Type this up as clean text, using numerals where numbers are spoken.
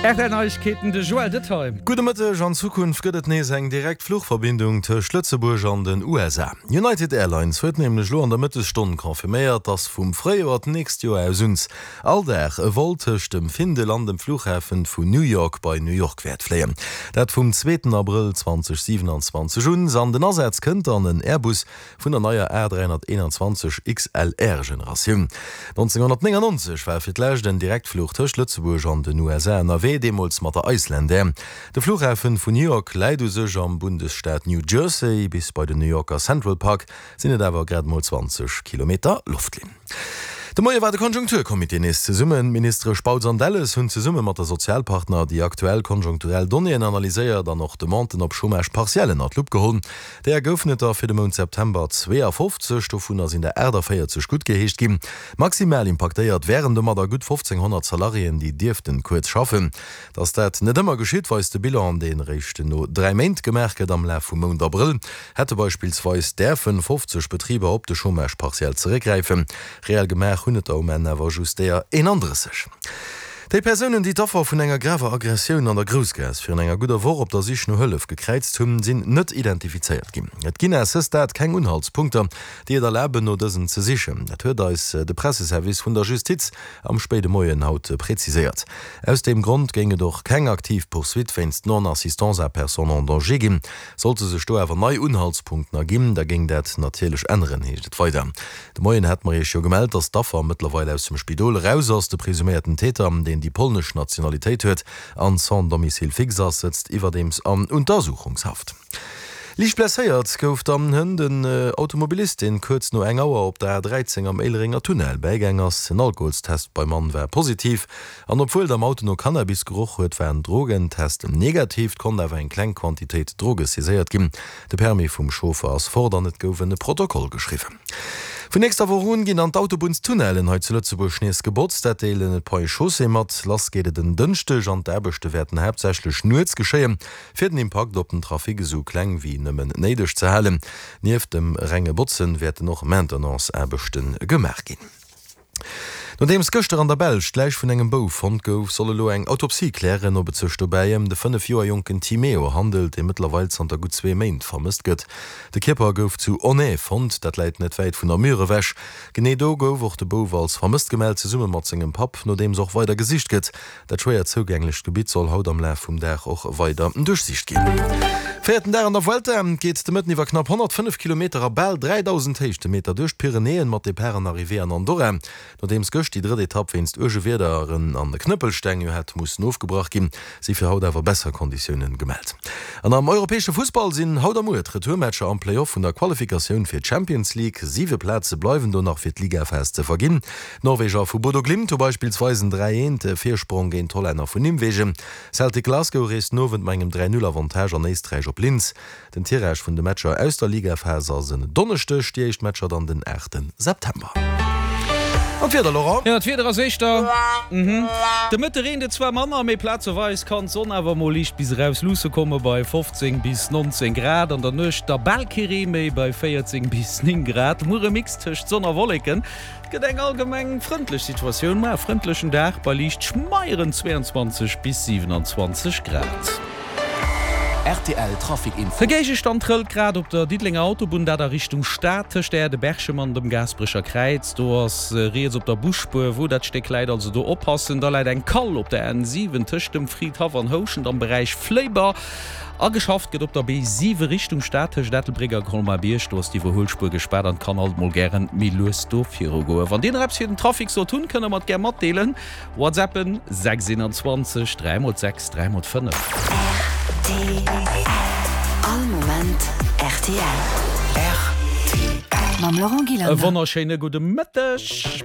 Rtl Neiegkeeten, de Joël Detaille. Gudde Mëtteg, An Zukunft gëtt et nees eng direkt Fluchverbindung tëscht Lëtzebuerg an den USA. United Airlines huet nämlech elo an der Mëttesstonn confirméiert, dass vum Fréijoer d'nächst Joer aus uns all Dag e Vol tëscht dem Findel an dem Flughafen vun New York bei New York wäert fléien. Dat vum zweeten Abrëll 2027 un. An den Asaz kënnt dann en Airbus Vun der neier A321 XLR Generatioun. 1999 war fir d'lescht en Direktfluch tëscht Lëtzebuerg an den USA ënnerwee, deemools mat der Icelandair. De Flughafen vun New York läit u sech am Bundesstaat New Jersey, bis bei den New Yorker Central Park sinn et awer grad emol 20 Kilometer Loftlinn. De Moie war de Konjunkturcomité nees zesummen. D'Ministere Spautz an Delles hunn zesumme mat de Sozialpartner déi aktuell konjunkturell Donnéeën analyséiert an och Demanden op Chômage partiel ënner d'Lupp geholl. Deeër goufen et der fir de Mount September 52, dovunner sinn der 48 guttgeheescht ginn. Maximal impaktéiert wären domadder gutt 1.500 Salariéen, déi dierften kuerz schaffen. Datt dat net ëmmer geschitt, weist de Bilan, deen eréischt no 3 Méint gemaach gëtt. Am Laf vum Mount Abrëll hätte beispillsweis däerfen 50 Betriber op de Chômage partiel zeréckgräifen. Reell gemaach hunn et der um Enn awer just deeër 31. Déi Persounen, déi d'Affer vun enger graver Aggressioun an der Groussgaass virun enger gudder Woch op der Sich no Hëllef gekräizt hunn, sinn net identifizéiert ginn. Et ginn à ce stade keng Unhaltspunkter, déi et erlaben, no dësen ze sichen. Dat huet eis de Presseservice vun der Justiz am spéide Moien haut preziséiert. Aus deem Grond géing et och keng aktiv Poursuite wéinst Non-assistance à personne en danger ginn. Sollte sech do awer nei Unhaltspunkten erginn, da géing dat natierlech änneren, heescht et weider. De Moien hate mer iech jo gemellt, dass d'Affer mëttlerweil aus dem Spidol eraus ass. De presuméierten Täter, deen déi polnesch Nationalitéit huet an sans domicile fixe ass, sëtzt iwwerdeems an Untersuchungshaft. Liicht blesséiert gouf dann hënt en Automobilist, deen kuerz no eng Auer op der A13 am Éilerenger Tunnel bäigaang ass. En Alkoholstest beim Mann war positiv an obwuel et am Auto no Cannabis geroch huet, war en Drogentest negativ. Et konnt awer eng kleng Quantitéit Droge saiséiert ginn. De Permis vum Chauffer ass fort an et gouf en Protokoll geschriwwen. Vun nächster Woch un ginn dann d'Autobunnstunnellen hei zu Lëtzebuerg nees gebotzt. Dat deelen d'Ponts et Chaussées mat. Lass geet et en Dënschdeg an d'Aarbechte wäerten haaptsächlech nuets geschéien, fir den Impakt op den Trafic esou kleng wéi nëmmen néideg ze halen. Nieft dem renge Botzen wäerten och Maintenance-Aarbechte gemaach ginn. Nodeems gëschter an der Belsch d'Läich vun engem Bouf fonnt gouf, soll elo eng Autopsie klären, ob et sech dobäi ëm de 5 Joer jonken Timeo handelt, dee mëttlerweil zanter gutt zwee Méint vermësst gëtt. De Kierper gouf zu Onay fonnt, dat läit net wäit vun Namur ewech. Genee do gouf och de Bouf als vermësst gemellt, zesumme mat sengem Papp, nodeems och weider gesicht gëtt. Dat schwéier zougänglecht Gebitt soll haut am Laf vum Dag och weider duerchsicht ginn. Véierten Dag an der Vuelta geet de Mëtten iwwer knapp 105 Kilometer a bal 3.000 Héichtemeter duerch d'Pyrenäen mat Depart an Arrivée an Andorra. Nodeems gëscht déi drëtt Etapp wéinst uerge Wiederen an Knëppelsteng jo hat mussen ofgebrach ginn, si fir haut awer besser Konditiounen gemellt. An am europäesche Fussball sinn haut a muer d'Retourmatcher am Play-Off vun der Qualifikatioun fir d'Champions League. Siwe Plaze bleiwen do nach fir d'Ligaphas ze verginn. D'Norweger vu Bodo Glimt hu beispillsweis en 3, 1 Virsprong géint d'Hollänner vun Nimwegen. Celtic Glasgow reest den Owend mat engem 3, 0 Avantage an Éisträich op Linz. Den Tirage vun de Matcher aus der Ligaphas ass en Donneschdeg, déi éischt Matcher dann den 8 September. An d'Wieder, Laurent? Jo, d'Wieder ass éischter mhm. De Mëtte reent et zwar manner, mee plazeweis kann d'Sonn awer mol liicht bis eraus luusse komme bei 15 bis 19 Grad. An der Nuecht da bal kee Ree méi bei 14 bis 9 Grad. Muer e Mix tëscht Sonn a Wolleken. Et gëtt eng allgemeng frëndlech Situatioun, ma e frëndlechen Dag bei liicht schmeieren 22 bis 27 Grad. Rtl Trafic Info. De Géigestand trëllt grad op der Diddelenger Autobunn, dat a Richtung Stad, tëscht der Aire de Berchem an dem Gaasperecher Kräiz. Do ass riets op der Busspuer, wou dat Stéck läit, also do oppassen. Da läit eng Kall op der N7 tëscht dem Fridhaff an Houschent am Beräich Fléiber. A geschafft gëtt op der B7 Richtung Stad tëscht Ettelbréck a Colmar-Bierg. Do ass d'Iwwerhuelspuer gespaart an et kann alt mol gären méi lues do viru goen. Wann dir nach eppes fir den Trafic sollt hunn, kënnt der mer et gär matdeelen. Whatsappen 6 21 3 mol 6 3 mol 5. Rtl. All Moment rtl. Rtl. Mam Laurent E Gillander. wonnerschéine gudde Mëtteg.